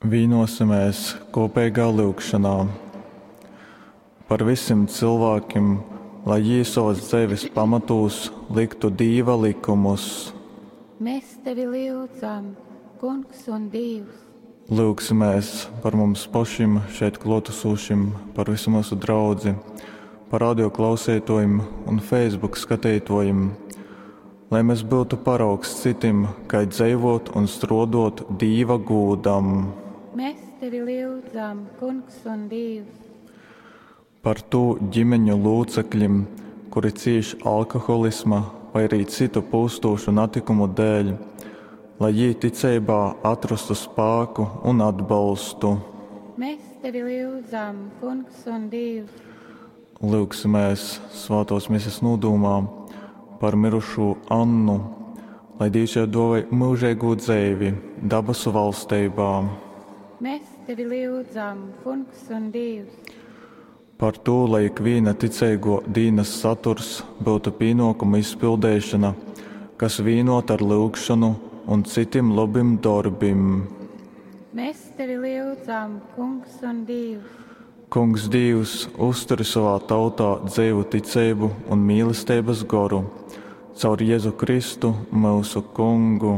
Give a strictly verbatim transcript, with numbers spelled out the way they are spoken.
Vīnosimies kopīgā lyugšanā par visiem cilvēkiem, lai jī savas dzeives pamatūs liktu Dīva likumus. Mēs tevi lyudzam, Kungs un Dīvs. Lyugsimies par mums pašim šeit klōtasūšim, par visu mūsu draudzi, par radio klausītājiem un Facebook skatītājiem, lai mēs būtu paraugs citim, kā dzīvot un strodot Dīva gūdam. Mēs tevi lyudzam, Kungs un Dīvs. Par tū ģimeņu locekļiem, kuri cīš alkoholisma vai arī citu pūstošu natikumu dēļ, lai jī ticeibā atrastu spēku un atbalstu. Mēs tevi lyudzam, Kungs un Dīvs. Lūgsimies svētos mises nodūmā par mirušo Annu, lai Dievs jai dāvāj mūžīgo dzeivi dabasu valstībā. Mēs tevi lyudzam, Kungs un Dīvs. Par to, lai ikviena ticīgo dīnas saturs būtu pienākumu izpildīšana, kas vienota ar lūgšanu un citiem labiem darbiem. Mēs tevi lyudzam, Kungs un Dīvs. Kungs Dīvs, uzturi savā tautā dzīvu ticību un mīlestības goru, caur Jēzu Kristu, mūsu Kungu.